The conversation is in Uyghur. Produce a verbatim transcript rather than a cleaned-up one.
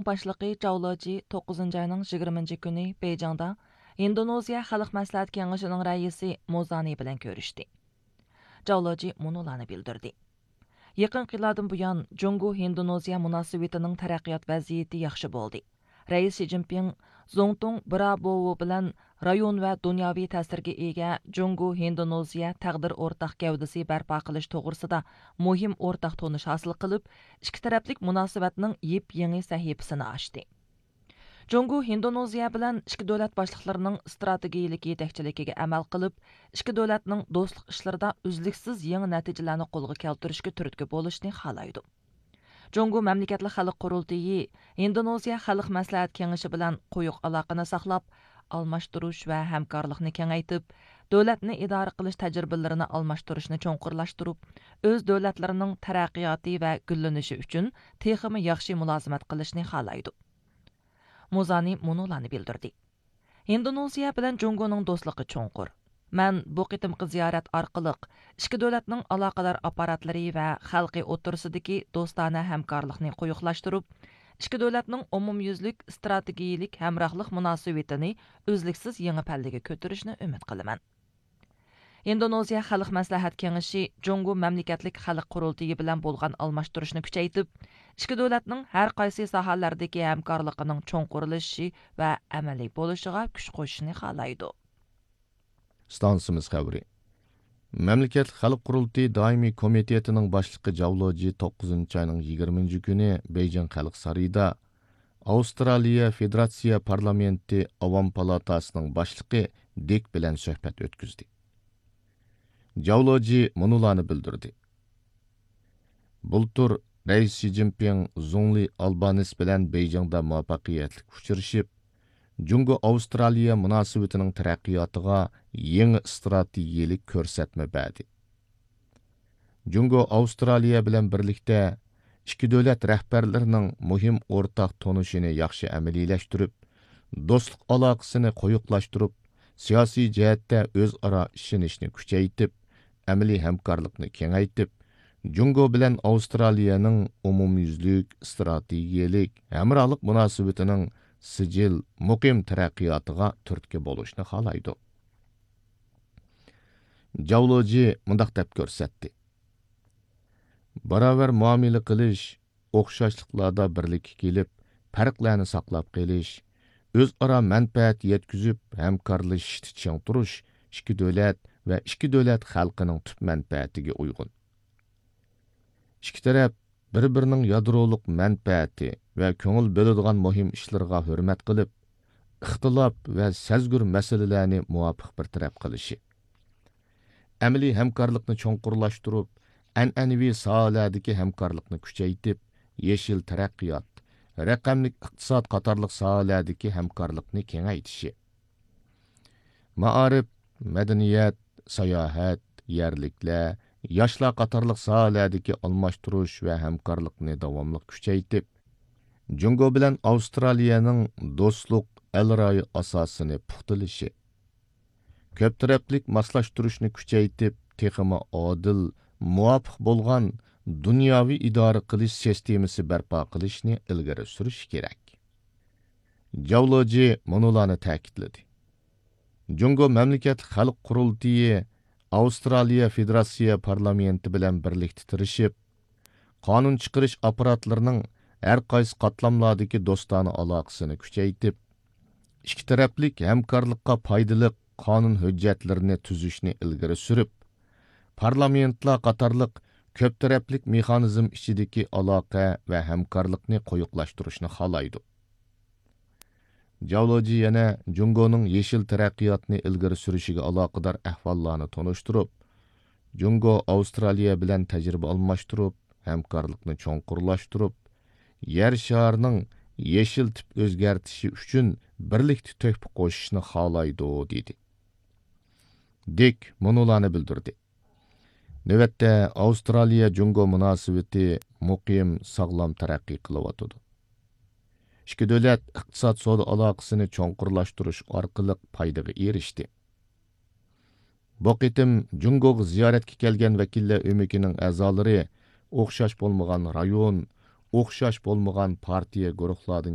باشلىقى جاۋ لېجى توققۇزىنچى ئاينىڭ يىگىرمىنچى كۈنى بېيجىڭدا ھىندونېزىيە خەلق مەسلىھەت كېڭىشىنىڭ رەئىسى موزانى بىلەن كۆرۈشتى. جاۋ لېجى مۇنۇلارنى بىلدۈردى: يېقىنقى يىللاردىن بۇيان، جۇڭگو ھىندونېزىيە مۇناسىۋىتىنىڭ تەرەققىيات ۋەزىيىتى ياخشى بولدى. رەئىس شى جىنپىڭ زۇڭتۇڭ برابوۋو بىلەن رايون ۋە دۇنياۋى تەسىرگە ئىگە جۇڭگو ھىندونېزىيە تەقدىر ئورتاق گەۋدىسى بەرپا قىلىش توغرىسىدا مۇھىم ئورتاق تونۇش ھاسىل قىلىپ، ئىككى تەرەپلىك مۇناسىۋەتنىڭ يېپيېڭى سەھىپىسىنى ئاچتى. جۇڭگو ھىندونېزىيە بىلەن ئىككى دۆلەت باشلىقلىرىنىڭ ئىستراتېگىيىلىك يېتەكچىلىكىگە ئەمەل قىلىپ، ئىككى دۆلەتنىڭ دوستلۇق ئىشلىرىدا ئۈزلۈكسىز يېڭى نەتىجىلەرنى قولغا كەلتۈرۈشكە تۈرتكە بولۇشنى خالايدۇ. جۇڭگو مەملىكەتلىك خەلق قۇرۇلتىيى ھىندونېزىيە خەلق مەسلىھەت كېڭىشى بىلەن قويۇق ئالاقىنى ساقلاپ، ئالماشتۇرۇش ۋە ھەمكارلىقنى كېڭەيتىپ، دۆلەتنى ئىدارە قىلىش تەجرىبىلىرىنى ئالماشتۇرۇشنى چوڭقۇرلاشتۇرۇپ، ئۆز دۆلەتلىرىنىڭ تەرەققىياتى ۋە گۈللىنىشى ئۈچۈن تېخىمۇ ياخشى مۇلازىمەت قىلىشنى خالايدۇ. موزانى مۇنۇلارنى بىلدۈردى: ھىندونېزىيە بىلەن جۇڭگونىڭ دوستلۇقى چوڭقۇر. مەن بۇ قېتىمقى زىيارەت ئارقىلىق ئىككى دۆلەتنىڭ ئالاقىدار ئاپپاراتلىرى ۋە خەلقى ئوتتۇرىسىدىكى دوستانە ھەمكارلىقنى قويۇقلاشتۇرۇپ، ئىككى دۆلەتنىڭ ئومۇميۈزلۈك ئىستراتېگىيىلىك ھەمراھلىق مۇناسىۋىتىنى ئۈزلۈكسىز يېڭى پەللىگە كۆتۈرۈشنى ئۈمىد قىلىمەن. ھىندونېزىيە خەلق مەسلىھەت كېڭىشى جۇڭگو مەملىكەتلىك خەلق قۇرۇلتىيى بىلەن بولغان ئالماشتۇرۇشنى كۈچەيتىپ، ئىككى دۆلەتنىڭ ھەر قايسى ساھەلەردىكى ھەمكارلىقىنىڭ چوڭقۇرلىشىشى ۋە ئەمەلىي بولۇشىغا كۈچ قوشۇشنى خالايدۇ. ئىستانسىمىز خەۋىرى. مەملىكەتلىك خەلق قۇرۇلتىيى دائىمىي كومىتېتىنىڭ باشلىقى جاۋ لېجى توققۇزىنچى ئاينىڭ يىگىرمىنچى كۈنى بېيجىڭ خەلق سارىيىدا ئاۋسترالىيە فېدېراتسىيە پارلامېنتى ئاۋام پالاتاسىنىڭ باشلىقى دىك بىلەن سۆھبەت ئۆتكۈزدى. جاۋ لېجى مۇنۇلارنى بىلدۈردى: بۇلتۇر رەئىس شى جىنپىڭ زۇڭلى ئالبانىس بىلەن بېيجىڭدا مۇۋەپپەقىيەتلىك ئۇچرىشىپ، جۇڭگو ئاۋسترالىيە مۇناسىۋىتىنىڭ تەرەققىياتىغا يېڭى ئىستراتېگىيەلىك كۆرسەتمە بەردى. جۇڭگو ئاۋسترالىيە بىلەن بىرلىكتە ئىككى دۆلەت رەھبەرلىرىنىڭ مۇھىم ئورتاق تونۇشىنى ياخشى ئەمەلىيلەشتۈرۈپ، دوستلۇق ئالاقىسىنى قويۇقلاشتۇرۇپ، سىياسىي جەھەتتە ئۆزئارا ئىشىنىشنى كۈچەيتىپ، ئەمەلىي ھەمكارلىقنى كېڭەيتىپ، جۇڭگو بىلەن ئاۋسترالىيەنىڭ ئومۇميۈزلۈك ئىستراتېگىيەلىك ھەمراھلىق مۇناسىۋىتىنىڭ سىجىل، مۇقىم تەرەققىياتىغا تۈرتكە بولۇشنى خالايدۇ. جاۋ لېجى مۇنداق دەپ كۆرسەتتى: باراۋەر مۇئامىلە قىلىش، ئوخشاشلىقلاردا بىرلىككە كېلىپ، پەرقلەرنى ساقلاپ قېلىش، ئۆزئارا مەنپەئەت يەتكۈزۈپ، ھەمكارلىشىشتا چىڭ تۇرۇش ئىككى دۆلەت ۋە ئىككى دۆلەت خەلقىنىڭ تۈپ مەنپەئەتىگە ئۇيغۇن. ئىككى تەرەپ بىر-بىرىنىڭ يادرولۇق مەنپەئەتى ۋە كۆڭۈل بۆلىدىغان مۇھىم ئىشلىرىغا ھۆرمەت قىلىپ، ئىختىلاپ ۋە سەزگۈر مەسىلىلەرنى مۇۋاپىق بىر تەرەپ قىلىشى، ئەمەلىي ھەمكارلىقنى چوڭقۇرلاشتۇرۇپ، ئەنئەنىۋى ساھەلەردىكى ھەمكارلىقنى كۈچەيتىپ، يېشىل تەرەققىيات، رەقەملىك ئىقتىساد قاتارلىق ساھەلەردىكى ھەمكارلىقنى كېڭەيتىشى، مائارىپ، مەدەنىيەت، ساياھەت، يەرلىكلەر، ياشلار قاتارلىق ساھەلەردىكى ئالماشتۇرۇش ۋە ھەمكارلىقنى داۋاملىق كۈچەيتىپ، جۇڭگو بىلەن ئاۋسترالىيەنىڭ دوستلۇق ئەلرايى ئاساسىنى پۇختىلىشى، كۆپ تەرەپلىك ماسلاشتۇرۇشنى كۈچەيتىپ، تېخىمۇ ئادىل، مۇۋاپىق بولغان دۇنياۋى ئىدارە قىلىش سىستېمىسى بەرپا قىلىشنى ئىلگىرى سۈرۈش كېرەك. جاۋ لېجى مۇنۇلارنى تەكىتلىدى: جۇڭگو مەملىكەتلىك خەلق قۇرۇلتىيى ئاۋسترالىيە فېدېراتسىيە پارلامېنتى بىلەن بىرلىكتە تىرىشىپ، قانۇن چىقىرىش ئاپپاراتلىرىنىڭ ھەر قايسى قاتلاملاردىكى دوستانە ئالاقىسىنى كۈچەيتىپ، ئىككى تەرەپلىك ھەمكارلىققا پايدىلىق قانۇن ھۆججەتلىرىنى تۈزۈشنى ئىلگىرى سۈرۈپ، پارلامېنتلار قاتارلىق كۆپ تەرەپلىك مېخانىزم ئىچىدىكى ئالاقە ۋە ھەمكارلىقنى قويۇقلاشتۇرۇشنى خالايدۇ. جاۋ لېجى يەنە جۇڭگونىڭ يېشىل تەرەققىياتنى ئىلگىرى سۈرۈشىگە ئالاقىدار ئەھۋاللارنى تونۇشتۇرۇپ، جۇڭگو ئاۋسترالىيە بىلەن تەجرىبە ئالماشتۇرۇپ، ھەمكارلىقنى چوڭقۇرلاشتۇرۇپ، يەر شارىنىڭ يېشىل تىپ ئۆزگەرتىشى ئۈچۈن بىرلىكتە تۆھپە قوشۇشنى خالايدۇ، دېدى. دىك مۇنۇلارنى بىلدۈردى: نۆۋەتتە ئاۋسترالىيە جۇڭگو مۇناسىۋىتى مۇقىم، ساغلام تەرەققىي قىلىۋاتىدۇ. ئىككى دۆلەت ئىقتىساد سودا ئالاقىسىنى چوڭقۇرلاشتۇرۇش ئارقىلىق پايدىغا ئېرىشتى. بۇ قېتىم جۇڭگوغا زىيارەتكە كەلگەن ۋەكىللەر ئۆمىكىنىڭ ئەزالىرى ئوخشاش بولمىغان رايون، ئوخشاش بولمىغان پارتىيە گۇرۇھلاردىن